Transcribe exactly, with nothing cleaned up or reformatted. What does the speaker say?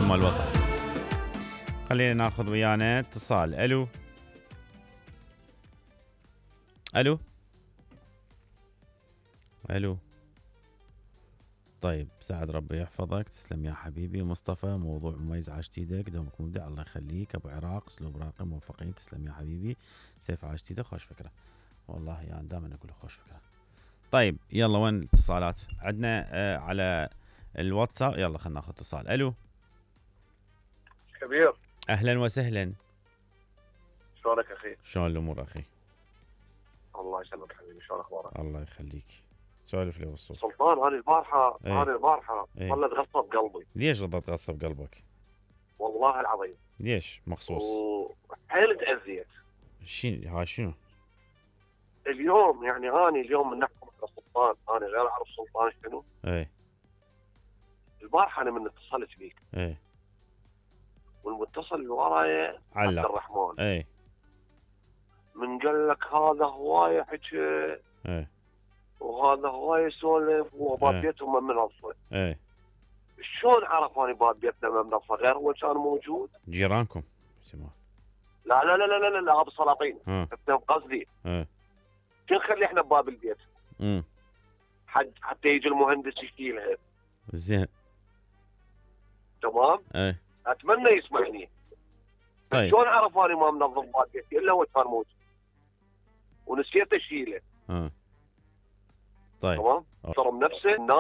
مال الوطن. خلينا ناخذ ويانا اتصال. الو الو الو طيب سعد ربي يحفظك، تسلم يا حبيبي. مصطفى موضوع مميز عاشت ايدك، دومك مبدع الله يخليك. ابو عراق اسلوب راقي موفقين، تسلم يا حبيبي. سيف عاشت ايدك، خوش فكره والله يعني دائما اقول خوش فكره. طيب يلا وين الاتصالات عندنا؟ آه على الواتساب. يلا خلينا ناخذ اتصال. الو كبير، اهلا وسهلا. شلونك اخي؟ شلون الامور اخي؟ الله يسلمك حبيبي، شلون اخبارك؟ الله يخليك. سولف لي بالصوت. سلطان، انا البارحه ايه؟ انا البارحه ايه؟ ظلت غصه بقلبي. ليش ظلت غصه بقلبك؟ والله العظيم. ليش مخصوص؟ وحيل تاذيت. شي ها شنو؟ اليوم يعني انا اليوم من نحكم على سلطان، انا غير اعرف سلطان شنو. ايه البارحه انا من اتصلت بيك، ايه والمتصل اللي ورايا عبد علق. الرحمن، ايه من قال لك هذا هوايه حكي ايه وهذا هوايه يسولف وباب ايه بيتهم منظفه. ايه شلون عرف اني باب بيتنا منظفه غير هو كان موجود؟ جيرانكم سمع. لا لا لا لا لا لا ابو سلاطين، ها احنا قصدي ايه شو نخلي احنا بباب البيت امم حد حتى يجي المهندس يشيلها. زين. تمام؟ ايه اتمنى يسمعني. طيب شلون عرف اني ما منظم باب بيتي الا هو كان موجود ونسيت اشيله. ها طيب تمام؟ أوه. ترى نفسه الناس